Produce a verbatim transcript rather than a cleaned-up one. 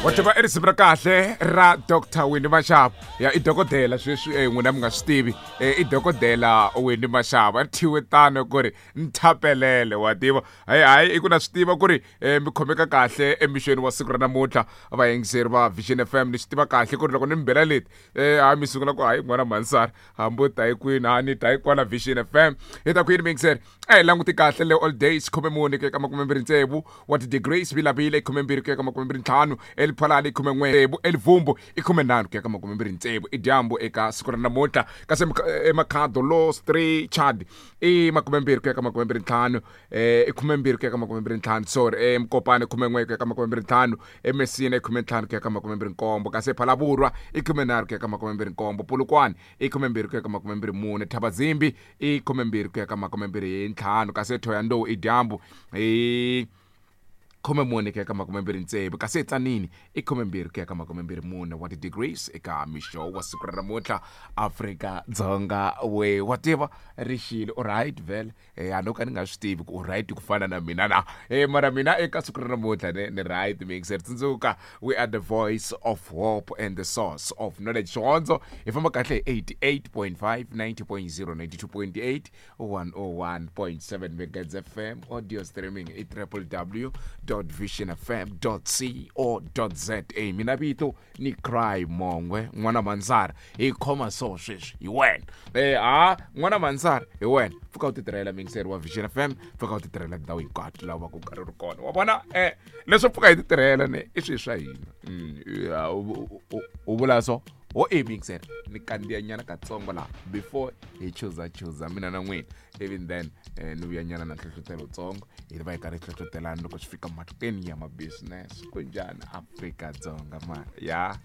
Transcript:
Wa tiva i risimu ra kahle ra Doctor Winnie Mashaba. Ya, i dokodela sweswi, eh, n'wina mi nga swi tivi. Eh, i dokodela Winnie Mashaba, ri thyiwe tano ku ri nthapelele. Wa tiva, hayi hayi, i ku na swi tiva ku ri eh, mi khomeka kahle emixweni wa siku ra namuntlha, vayingiseri va Vision F M. Ni swi tiva kahle ku ri loko ni mi bela leti, eh, hayi, mi sungula ku hayi, n'wana mhanisara, hambi u ta hi kwini, ha ni ta hi kwala Vision F M. Hi ta kwini, miyingiseri? A hi languti kahle le all days, khume mune ku ya ka makume mbirhi tsevu wa ti-degrees, Vilavila i khume mbirhi ku ya ka makume mbirhi ntlhanu, Eliphalani i khume n'we tsevu, Elivumbu i khume nharhu ku ya ka makume mbirhi tsevu, i dyambu eka siku ra namuntlha. Kasi eMakhado, Los three Chad i makume mbirhi ku ya ka makume mbirhi ntlhanu, eh, i khume mbirhi ku ya ka makume mbirhi ntlhanu, sorry, eMkopane khume n'we ku ya ka makume mbirhi ntlhanu, eMessina i khume ntlhanu ku ya ka makume mbirhi nkombo, kasi ePhalaborwa i khume nharhu ku ya ka makume mbirhi nkombo, Polokwane i khume mbirhi ku ya ka makume mbirhi mune, Thabazimbi i khume mbirhi ku ya ka makume mbirhi ntlhanu, kasi eThohoyandou i dyambu i khume mune ku ya ka makume mbirhi tsevu, kasi eTsanini i khume mbirhi ku ya ka makume mbirhi mune wa ti-degrees eka mixo wa siku ra namuntlha, Afrika Dzonga. We, wa tiva rixile, u right vhele. eh, a no ka ni nga swi tivi ku u right ku fana na mina na, eh, mara mina eka siku ra namuntlha ni, ni right mixer. Tsundzuka, we are the voice of hope and the source of knowledge. Xihondzo hi famba kahle hi eighty-eight point five, ninety point zero, ninety-two point eight, one oh one point seven megahertz F M. Audio streaming i w w w visionfm co za. Mina vito ni Cry Mongwe, n'wana Mansara. Hi khoma so sweswi hi wena, eh ha, n'wana Mansara, hi wena. Pfuka u titirhela, mixer wa Vision F M, pfuka u titirhela tindhawu hinkwato laha va ku karhi ri kona. Wa vona, eh leswo pfuka hi titirhela ne i swilo swa hina. Mm, ya, u- u- u vula so ho e mixer, ni kandziya nyana katsongo laha before hi chuza chuza mina na n'wina, even then eh, ni vuya nyana na nhlohlotelo tsongo, hi va hi karhi hi hlohlotelana loko swi fika mahlweni ya ma-business. Ku njhani, Afrika Dzonga? Mara ya.